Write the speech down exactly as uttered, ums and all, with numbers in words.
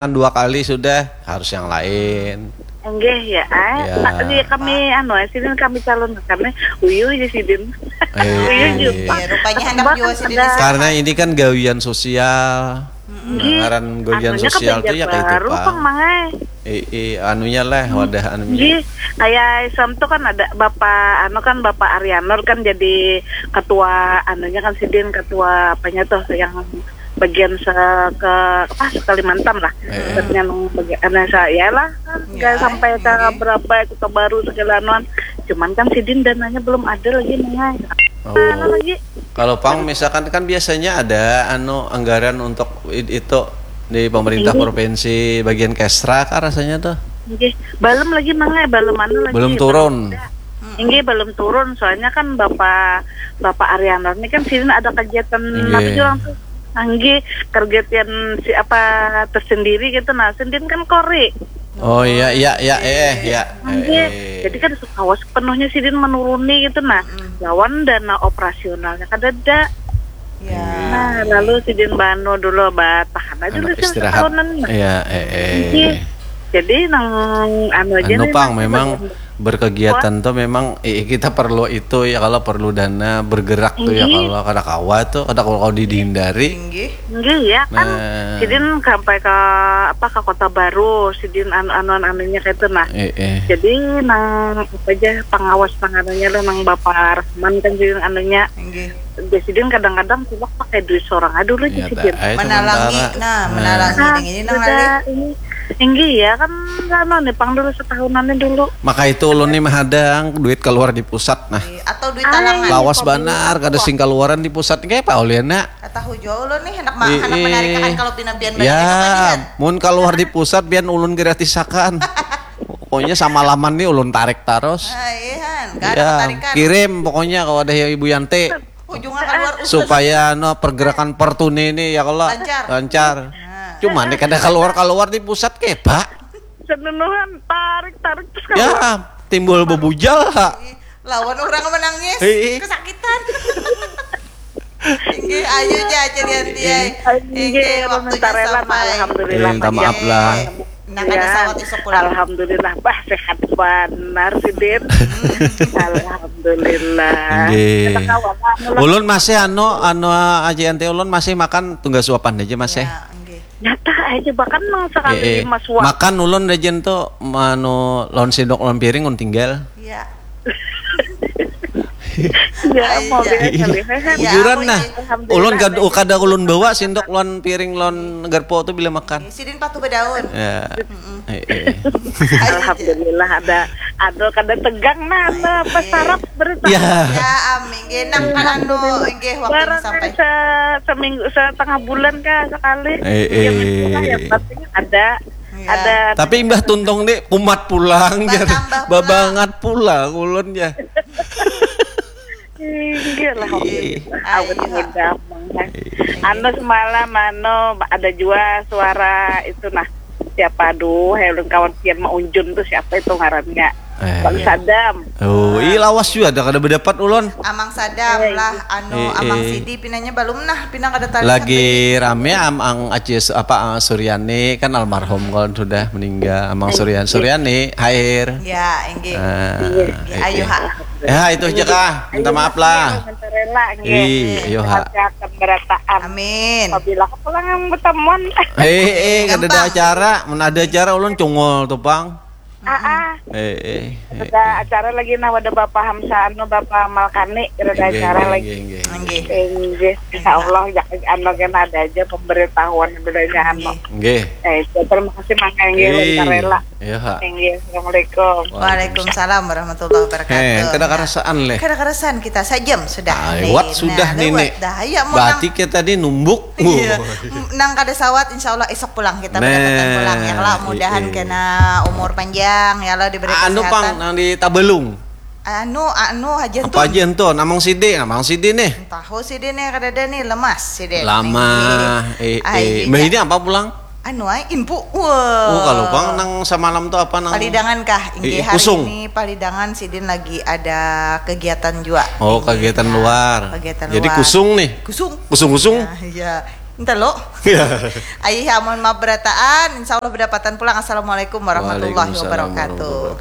Kan dua kali sudah, harus yang lain. Enggih ya, ah. Ya. Nah, iya, kami anu, sidin kami calon kami uyuh aja sidin. Eh, Uyuh eh. juga. Ya, rupanya hendak Sebab jua sidin ada- disapa. Karena ini kan gawian sosial. Enggih. Ngaran gawian Anunya sosial kebanjar tuh ya kayak itu, baru, Pak. Pang, Mang, eh. Eh, eh, anunya lah, wadah anunya. Enggih, kayak Islam tuh kan ada Bapak anu kan Bapak Arianur kan jadi ketua anunya kan sidin ketua apanya tuh yang bagian se ke apa se Kalimantan lah. Eh. Terus yang bagian anu saya lah kan nggak Ya, sampai ke iya. berapa kota baru segala anuan. Cuman kan sidin dananya belum ada lagi, Mang, eh. Oh. Mana lagi? Kalau Pang misalkan kan biasanya ada anu anggaran untuk i- itu di pemerintah Ini. Provinsi bagian Kesra kah rasanya tuh? Enggih, belum lagi, Mang, eh, belum anu lagi. Belum turun. Enggih, belum turun. Soalnya kan Bapak Bapak Arianur ini kan sidin ada kegiatan Enggih. apa sih orang tuh? Enggih, kegiatan si apa tersendiri gitu. Nah, sidin kan kori. Oh iya iya iya eh ya. Enggih. Eh, Jadi kan sukawas penuhnya sidin menuruni gitu nah. Lawan dana operasionalnya kada ada. Ya. Nah, lalu sidin banu dulu batahan aja anak dulu sih istirahat. Setahunan. Nah. Iya eh eh. Enggih. Jadi nang anu aja Anu nih, Pang nah, memang bagian- berkegiatan tuh memang eh, kita perlu itu ya kalau perlu dana bergerak tuh ya Iya. kalau kada kawa tuh kada kalau dihindari. Tinggi. Enggih ya kan Nah. sidin sampai ke apa ke Kota Baru sidin anu anuan anunya kayak itu nah. Eh eh. Jadi nang apa aja pengawas nang anunya lo nang Bapak Rahman kan sidin anunya Tinggi. ya sidin kadang-kadang coba pakai duit seorang aja dulu Ya, sidin. tak, eh, Menalangi, sementara. nah, menalangi Nah, yang ini nang sudah lali. ini enggih ya kan anu nih pang dulu setahunannya dulu. Maka itu ulun nih mahadang duit keluar di pusat nah. Atau duit Ah, talangan. Lawas banar kada sing keluaran di pusat kayak apa Oliana. Tahu jua ulun nih hendak ma- Ih, hendak ih. menarikan kalau pina pian banyak Ya, kembalian. mun keluar di pusat biar ulun gratisakan. Pokoknya sama laman nih ulun tarik terus. Ah, iya han, kada Ya, tarikan. Kirim pokoknya kalau ada ibu Yanti Ujungnya keluar usus. Supaya no pergerakan pertuni ini ya kalau Lancar. lancar. Cuma nih kada keluar keluar di pusat kepa. Senunuhan tarik tarik terus Ya, keluar. Timbul bebujal ha. Lawan orang menangis, Ih. Kesakitan. Inggih, ayo ja aja lihat dia. Inggih, Inggih, ulun waktunya minta rela, sampai. alhamdulillah, Eh, minta maaf lah. Nah, kada Ya, sawat isuk pulang. Alhamdulillah, bah sehat banar sidin. Alhamdulillah. Inggih. Kita kawan anu lah. Ulun masih anu anu aja ente ulun masih makan tunggal suapan aja masih. Ya, inggih. Nyata aja bahkan nang sekali Eh, eh. lima suap. Makan ulun aja tuh anu lawan sendok lawan piring ulun tinggal. Ya. Ya, mau Iya. biasa lihat. Iya, Bujuran aku nah. ini. Alhamdulillah. Ulun kada kada ulun bawa sendok lawan piring lawan garpu tuh bila makan. Sidin patuh bedaun. Ya. Eh, eh. Alhamdulillah ada ada kada tegang nah, nah apa Iya. Sarap berita. Ya. Ya, amin. Nggih, nang kan anu, nggih, waktu Barang sampai. se seminggu setengah bulan kah sekali. Eh, Yang eh. Itulah yang penting ada Iya. ada Tapi imbah tuntung nih kumat pulang jar. Batambah pulang. Babangat pulang ulun ya. Iya lah. Iya. Awet Ayo. muda mah. Anu semalam anu ada jua suara itu nah. Siapa aduh, ulun kawan pian maunjun tuh siapa itu ngarannya? Eh. Bang Sadam. Oh, iya lawas juga ada kada berdapat ulun. Amang Sadam lah, anu Eh, Amang eh. Sidi pinanya belum nah, pinang kada tarik. Lagi rame am ang Aci Su- apa ah, Suryani kan almarhum kan sudah meninggal. Amang Suryan Suryani hair. Ya, inggih. Ah, Ya, ayo ha. Ya, itu aja kah. Minta maaf lah. Minta rela nggih. Ih, ayo ha. Sehat-sehat dan berataan. Amin. Apabila aku pulang bertemuan. Eh, eh, kada ada Gampang. Acara, mun ada acara ulun cungul tuh, Pang. Ah, ah. Eh, eh. eh. Ada acara lagi nah ada Bapak Hamsa anu Bapak Malkani ada Inggih, acara inggih, lagi. inggih, inggih. Inggih. Inggih, insya Allah ya anu kena ada aja pemberitahuan bedanya anu. Inggih. Eh, terima kasih Mang Enggih Eh, minta rela. Iya, ha. Enggih, assalamualaikum. Waalaikumsalam warahmatullahi wabarakatuh. Eh, kada Nah, karasaan leh. kada karasaan kita sajam sudah. Ah, Nih, lewat sudah nah, nih, lewat Nek. Dah, ya, mau Berarti nang, kita tadi numbuk. iya. Wuh. Nang kada sawat, insya Allah esok pulang kita Nah. berdekatan pulang ya. Kalau mudahan Iya. Kena umur panjang ya Allah diberi Anu kesehatan. Pang nang di Tabalung. Anu, anu aja Apa aja tuh? Namang Sidi, Namang Sidi nih. Tahu Sidi nih kada ada nih lemas Sidi. Lama. Eh, Ai, eh. Mbah ini apa pulang? Anu ai inpu. Wah. Oh, kalau Pang nang semalam tuh apa nang? Palidangan kah? Inggih, Eh, hari kusung. Ini palidangan sidin lagi ada kegiatan juga. Oh, Inggih, kegiatan nah, luar. Kegiatan Jadi luar. Kusung nih. Kusung. Kusung-kusung. Nah, iya. Entah lo. Ayah amun maaf berataan, insya Allah berdapatan pulang. Assalamualaikum warahmatullahi wabarakatuh.